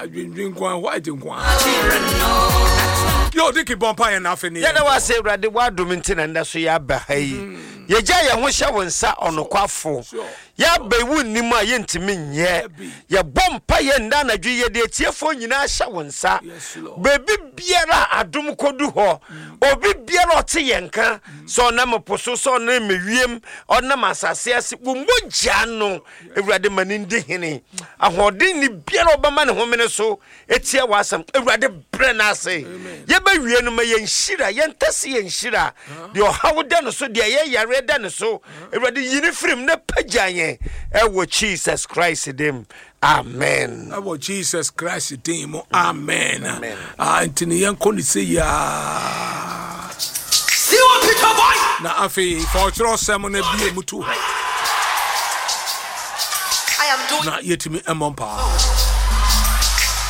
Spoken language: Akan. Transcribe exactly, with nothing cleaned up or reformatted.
Adwendwen nko a, white nko a. Yɛ ɔde ki bɔ mpa yɛn n'afɛ ne yɛda wo ase, Awurade. Woadom nti na nnɛ so yɛaba ha yi. Yɛgya yɛn ho hyɛ wo nsa, ɔnokwafo. Sure. Yɛaba yi, wo nnim a yɛntumi nyɛ. Dabi. Yɛbɔ mpa yɛ nda anadwo yi, yɛde atiefoɔ nyinaa hyɛ wo nsa. Yes, Lord. Baabi biara a adom kɔdu hɔ, obi biara a ɔte yɛn ka sɛ ɔnam po so, sɛ ɔnam ewiem, ɔnam asase ase, wo mogya no, Awurade, ma ne ndi hene. Ahoɔden ne biara a ɔbɛma ne homene so etia w'asɛm, Awurade, brɛ no ase. Yɛbɛwie no, ma yɛnhyira, yɛntɛse yɛnhyira deɛ ɔhaw da no so, deɛ ɛyɛ yareɛ da ne so. Awurade, yi ne firim na pagya yɛn ɛwɔ Jesus Christ dim, amen. Ɛwɔ Jesus Christ din mu, amen. Amen. Ah, nti ne yɛnkɔ ne sɛ yiaa na afei fa ɔkyerɛ ɔsɛm no bie mu to hɔ I am doing na yɛtumi mmɔ mpaa.